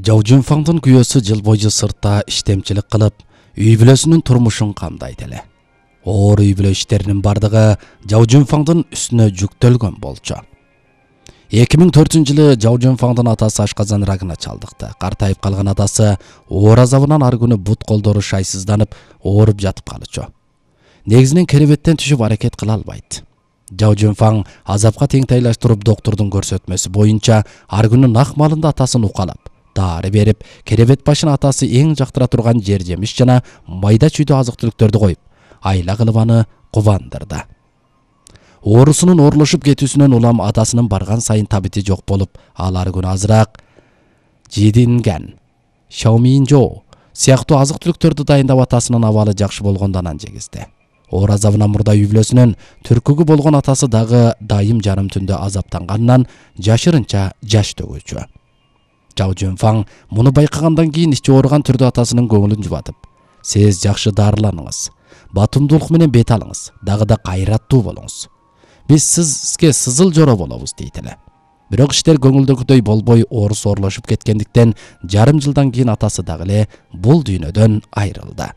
Жау Жунфаңдын күйөөсү жыл бою сыртта иштемчилик кылып, үй бүлөсүнүн турмушун камдайт эле. Оор үй бүлө иштеринин бардыгы Жау Жунфаңдын үстүнө жүктөлгөн болчу. 2004-жылы Жау Жунфаңдын атасы ашказан рагына чалдыкты. Картайып калган атасы оор азабынан ар күнү бут колдору шайсызданып, ооруп жатып калычу. Негизинен керебеттен түшүп аракет кыла албайт. Жау Жунфаң азапка теңтайлаштырып доктурдун көрсөтмөсү боюнча ар күнү нак малында атасын укалап, дары берип, керебет башына атасы эң жактыра турган жер жемиш жана майда чүйдө азык-түлүктөрдү коюп, айла кылып аны кубандырды. Оорусунун оорлошуп кетүүсүнөн улам атасынын барган сайын табити жок болуп, ал ар күнү азыраак жидинген, шауминжо сыяктуу азык-түлүктөрдү дайындап атасынын абалы жакшы болгондон анан жегизди. Оор азабынан мурда үй бүлөсүнүн түркүгү болгон атасы дагы дайым жарым түндө азаптанганынан жашырынча жаш төгүүчү. Жау Жунфаң муну байкагандан кийин ичи ооруган түрдө атасынын көңүлүн жубатып: "Сиз жакшы дарыланыңыз, батымдуулук менен бет алыңыз, дагы да кайраттуу болуңуз. Биз сизге сызыл жоро болобуз" дейт эле. Бирок иштер көңүлдөгүдөй болбой, оорусу оорлошуп кеткендиктен жарым жылдан кийин атасы дагы эле бул дүйнөдөн айрылды.